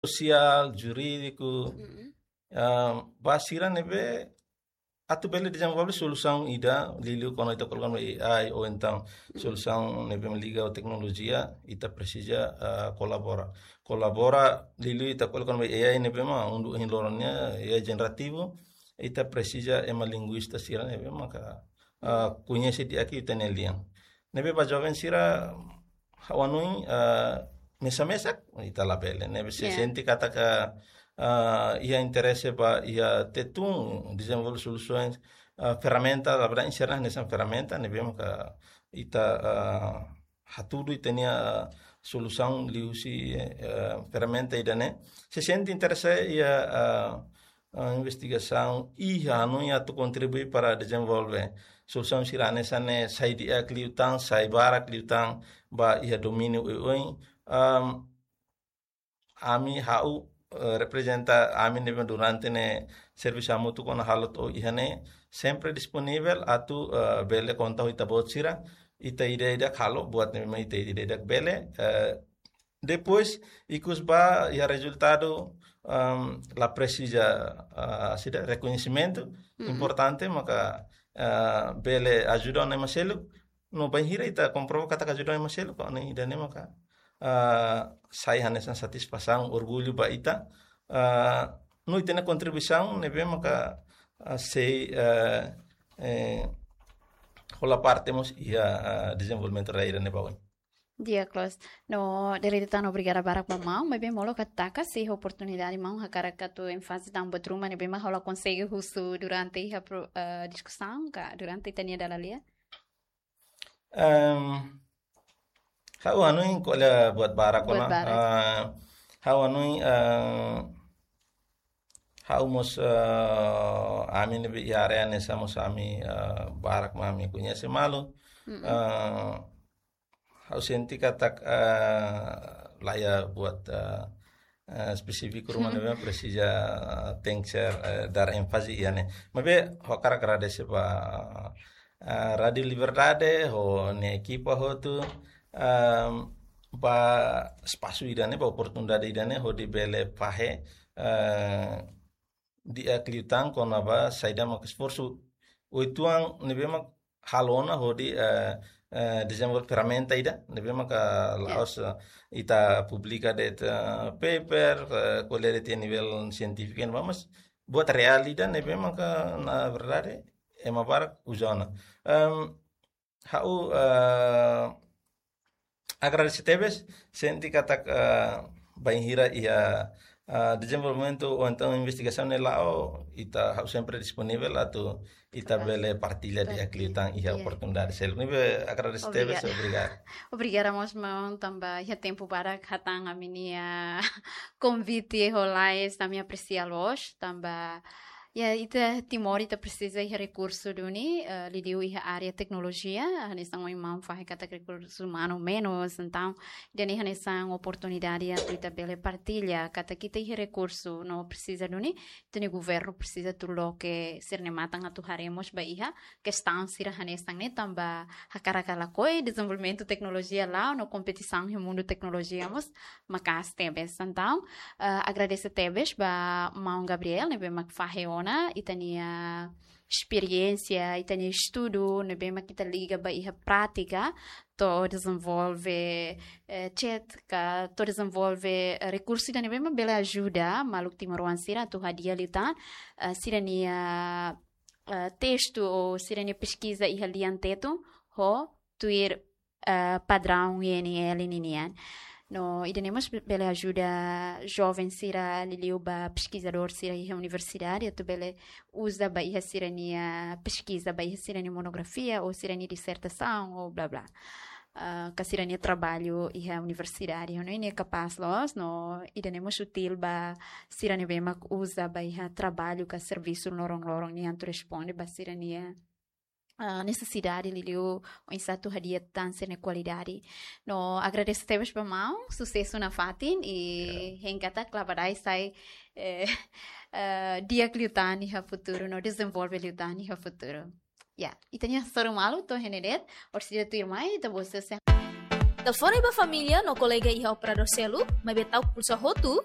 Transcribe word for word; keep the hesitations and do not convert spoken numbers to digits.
sosiál, jurídiku, ah, ba sira ne'ebé atu bele dezenvolve solusaun ida, liuliu kuandu ita koloka ba A I ou entaun solusaun ne'ebé mak liga ho teknolojia, ita presiza, ah, kolabora. Kolabora liuliu ita koloka ba A I ne'ebé mak undu hin loron nian, A I jenerativu, ita presiza ema linguista sira ne'ebé maka, ah, koñese di'ak ita-nia lian. Ne'ebé ba joven sira ha'u hanoin, ah, mesak-mesak, ita labele. Ne'ebé se sente katak, ah, iha interese ba iha Tetun, dezenvolve solusaun, ah, ferramenta, la verdade, ensinar hanesan ferramenta, ne'ebé maka ita, ah, hatudu ita-nia solusaun liuhusi, eh, ferramenta ida-ne'e. Se sente interese iha, ah, ah, investigasaun iha hanoin atu kontribui para dezenvolve solusaun sira hanesan ne'e sai di'ak liután, sai barak liután ba iha domíniu oioin. Am, ami ha'u, eh, reprezenta ami ne'ebé durante ne'e servisu hamutuk ona halo to'o iha ne'e sempre disponivel atu, eh, bele konta ho ita-boot sira, ita ida-idak halo buat ne'ebé ita ida-idak bele, eh, depois ikus ba iha rezultadu, am, la presiza, ah, sida rekoñesimentu, importante maka, ah, bele ajuda ona ema seluk, no bainhira ita komprova katak ajuda ona ema seluk, ne'e ida-ne'e maka, ah, sai hanesan satisfasaun, orgullu ba ita, ah, no ita-nia kontribuisaun ne'ebé maka, ah, sei, eh, eh, hola parte mós iha, ah, dezenvolvimentu rai ida-ne'e ba oin. Di'ak loos. No, dere tan obrigada barak ba maun, maibé molok atu taka sei oportunidade maun hakarak atu énfaze tan buat ruma ne'ebé mak ha'u la konsege husu durante iha pro-, eh, diskusaun ka durante ita-nia dala lia. Em, ha'u hanoin ko'alia buat barak ona. Buat barak. Eh, ha'u hanoin, eh, ha'u mós, eh, ami ne'ebé iha área ne'e sa mós ami, eh, barak mak ami koñese malu. Mm-mm. Eh, ha'u sente katak, eh, la iha buat, eh, eh, espesífiku ruma ne'ebé presiza, eh, tenke ser, eh, dar énfaze iha ne'e. Maibé ha'u hakarak agradese ba, eh, Rádiu Liberdade ho nia ekipa hotu, ehm, ba espasu ida-ne'e, ba oportunidade ida-ne'e hodi bele fahe, eh, di'ak liután kona-ba saida maka esforsu uitoan ne'ebé mak halo ona hodi, eh, eh, dezenvolve ferramenta ida ne'ebé maka la'ós, eh, ita publika de'it, eh, paper, eh, ko'alia de'it iha nivel sientífiku, mas buat reál ida ne'ebé maka na verdade ema barak uza ona. Em, ha'u, eh, agradese tebes, sente katak, eh, bainhira iha, eh, dezenvolvimentu ou entaun investigasaun ne'e la'o, ita ha'u sempre disponivel atu ita bele partilla di'ak liután iha oportunidade seluk. Ne'ebé agradese tebes, obrigada. Obrigada mós maun tanba iha tempu badak hatán ami-nia konvite ho lalais, ami apresia loos tanba iha ita Timor ita presiza iha rekursu duni, eh, liuliu iha área teknolojia, hanesan ohin maun fahe katak rekursu umanu menus, entaun ida-ne'e hanesan oportunidade atu ita bele partilla katak ita iha rekursu no presiza duni, ita-nia governu presiza atu loke sira-nia matan atu haree mós ba iha kestaun sira hanesan ne'e tanba hakarak ka lakohi dezenvolvimentu teknolojia la'o no kompetisaun iha mundu teknolojia mós maka'as tebes. Entaun, eh, agradese tebes ba maun Gabriel ne'ebé mak fahe ona ita-nia esperiénsia, ita-nia estudu ne'ebé mak ita liga ba iha prátika, to'o dezenvolve, eh, chat ka to'o dezenvolve, eh, rekursu ida ne'ebé mak bele ajuda maluk timoroan sira atu hadi'a liután, eh, sira-nia, eh, testu ou sira-nia peskiza iha lian Tetun ho tuir, eh, padraun I N L ninian. No ida-ne'e mós be-, bele ajuda joven sira liuliu ba peskizadór sira iha universidade atu bele uza ba iha sira-nia peskiza, ba iha sira-nia monografia ou sira-nia disertasaun ou blá blá. Ah, ka sira-nia traballu iha universidade. No ida-ne'e kapás loos, no ida-ne'e mós útil ba sira ne'ebé mak uza ba iha traballu ka servisu loron-loron nian atu responde ba sira-nia, ah, nesesidade liuliu oinsá atu hadi'a tan sira-nia kualidade. No agradese tebes ba maun, susesu nafatin, i hein katak labadai sai, eh, eh, di'ak liután iha futuru, no dezenvolve liután iha futuru. Ya, ita-nia hasoru malu to'o iha ne'e de'it, orsida tuirmai, ita-boot sira sei Telefone ba família no kolega iha operadór seluk, maibé ta'uk pulsa hotu,